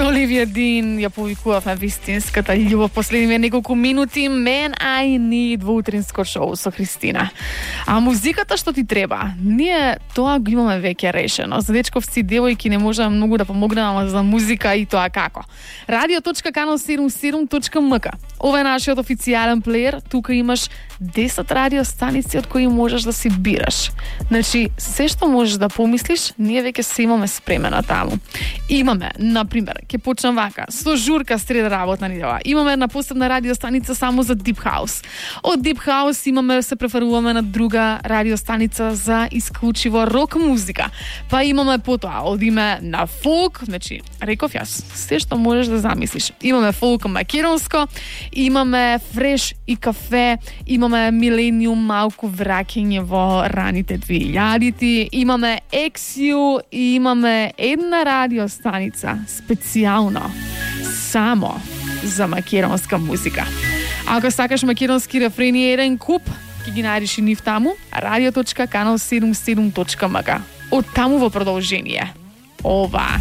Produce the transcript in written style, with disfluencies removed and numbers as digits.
Со Оливија Дин ја повикувавме вистинската љубов последниве неколку минути. Man I Need во утринско шоу со Христина. А музиката што ти треба, ние тоа го имаме веќе решено. За дечковци, девојки не можеме многу да помогнеме, ама за музика и тоа како. radio.canal77.mk. Ова е нашиот официјален плеер. Тука имаш 10 радиостаници од кои можеш да си бираш. Значи, се што можеш да помислиш, ние веќе се имаме спремено таму. Имаме, например, ќе почнам вака, со журка среда работна недела. Имаме една посебна радиостаница само за Deep House. Од Deep House имаме, се преферуваме на друга радиостаница за исклучиво рок музика. Па имаме потоа, одиме на фолк, значи, реков јас, се што можеш да замислиш. Имаме фолк македонско, имаме фреш и кафе, имаме милениум, малку враќање во раните 2000-ти, имаме Ексиу и имаме една радиостаница специјално само за македонска музика. Ако сакаш македонски рефрени еден куп, ќе ги најдеш и нив таму, radio.canal77.mk. Од таму во продолжение. Ова